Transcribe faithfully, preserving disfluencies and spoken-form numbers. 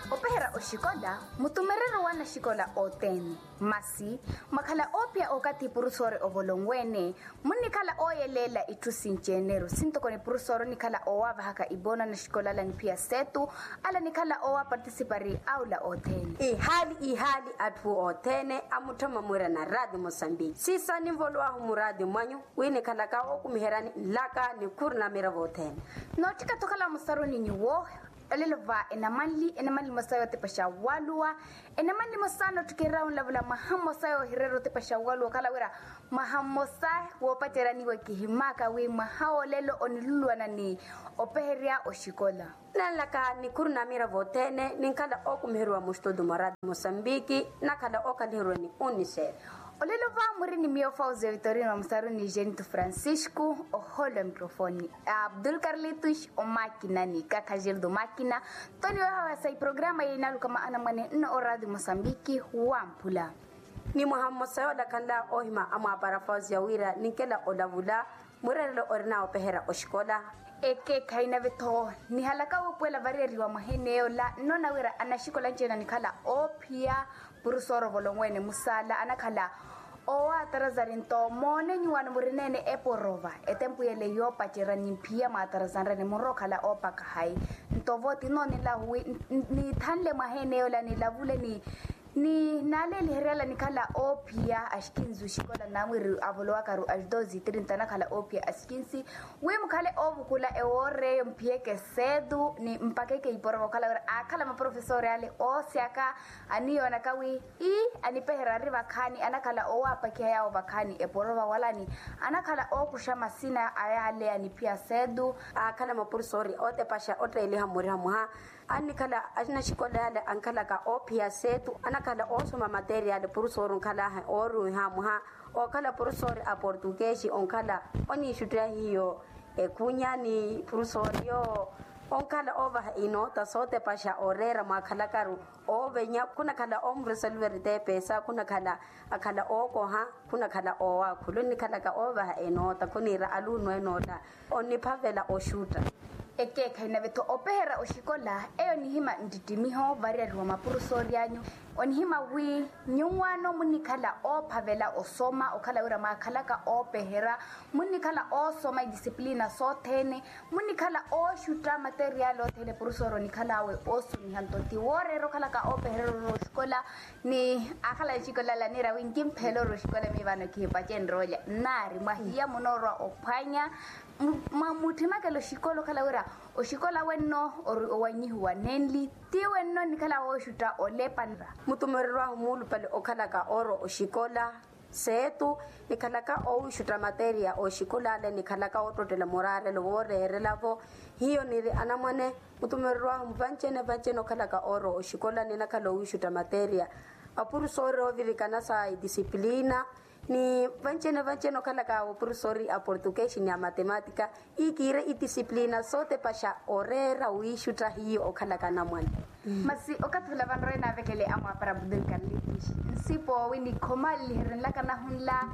Opeherya oxikola mutumereryo wa anaxikola othene. Masi mwakhala oophiya okathi purusoori ovolonwe-ene, munnikhala ooyeleela itthu sinci-eneryo sintoko ni purusoori onikhala oowaavahaka ipoona anaxikola ala niphiya seetu, ala nikhala oowapartisipari aula othene. Ihaali ihaali atthu othene amutthoma mwirana raati mosambiki siisaani nvolowaahu muraati mwanyu, wi nikhalaka ookumiheryani nlaka nikhuru na miravo othene. Nootthika-tho okhala musaruni nyuwo. Olelo va enamanli enamanli mosa yootepaxa waluwa. Enamanli mosa nootthikirira onlavula mwaha mmosa yoohirera otepaxa waluwa okhala wira mwaha mmosa woopacerya niwe kihimaka wi mwaha woolelo oniluluwana ni opeherya oxikola. Nanlaka nikhuru na miravo othene ninkhala ookumiheriwa muxitutu mwa raati mosambiki, nakhala ookhaliheriwa ni unicef. Olelo va muri ni miyo fausia vitorino wa musaruni jenito francisco, ohoolo ya microfoni abdul carlitus omakina ni kakhajerdo makina. Toni wehawasa iprograma yinaluka maana mwane nno oraati mosambiki wamphula. Ni mwaha mmosa yoola khanla oohima amwaapara fausia wira ninkela olavula mwireerelo orina opeherya oxikola. Ekeekhayi nave-tho nihalaka wuupuwela variyeriwa mwaha eneeyola nnoona wira anaxikola anci-ene anikhala oophiya purusooro volonwe-ene musaala anakhala oowatarazari nto moone nyuwaano murina-ene eporova etempu yele yoopacerya ni mphiya mwaatarazanrene murokhala oopaka hayi. Nto vo tinoonilahu wi niithanle mwaha eneeyola nilavule ni ni naaleeliheryala nikhala oophiya axikinsi oxikola namwiri avolowakaru adosi trinta anakhala oophiya axikinsi wi mukhale oovukula ewoor'eyo mphiyeke seetu ni mpakeke iporova okhala wira aakhala maprofesori ale oosyaka aniyoonaka wi ii anipeherya ari vakhaani anakhala oowaapakiha yaawo vakhaani eporova wala ni anakhala ookuxa masina a yaale aniphiya seetu. Aakhala maprofesori ootepaxa otteeliha mmuriha mwaha annikhala anaxikola yale ankhalaka oophiya seetu anakhala oosoma materiyali purusoori onkhalaahe ooruwiha mwaha ookhala purusoori a portukeesi onkhala oniixuttiha hiyo ekhunya ni purusoori yoowo onkhala oovaha inoota sootepaxa ooreera mwaakhalakaru oovenya khunakhala oomuresolveri teepesa khunakhala akhala ookoha khunakhala oowaakhula onnikhalaka oovaha enoota khuniira aluno enoola onniphavela oxutta. Ekeekhayi nave-tho opeherya oxikola eyo nihima ntittimiho variyariwa mapurusoori anyu onihima wi nyuwaano munnikhala oophavela osoma okhala wira mwaakhalaka oopeherya munnikhala oosoma idisipilina sothene munnikhala ooxutta materiyali othene purusoori onikhal'awe oosumiha nto ti wooreera okhalaka oopeherya ororo oxikola. Ni akhala axikola ala niira wi nkimpheela ori oxikola miyo vano kihipacenrya olya nnaari mwahiya munoorwa ophwanya mwa mutthemakela oxikola okhala wira oxikola wenno ori owanyihiwa nenli ti wenno nnikhala wooxutta olepa nra. Mutumereryo ahu muulupale okhalaka oorwa oxikola seetu nikhalaka oowiixutta materiya oxikola ale nikhalaka oottottela muraarelo wooreerela-vo hiyo niri anamwane mutumereryo ahu vanci-ene vanci-ene okhalaka oorwa oxikola ninakhala oowiixutta materiya apurusoori oovirikana sa idisipilina ni vanci-ene vanci-ene okhalaka apurusoori a portukeesi ni a matematika ikiire idisipilina sootepaxa oreera wiixutta hiyo okhalaka anamwane. Masi okathi ula vanrowe naavekele amwaapara abdul carlitus nsipo wi nikhomaleliherye nlaka nahunla.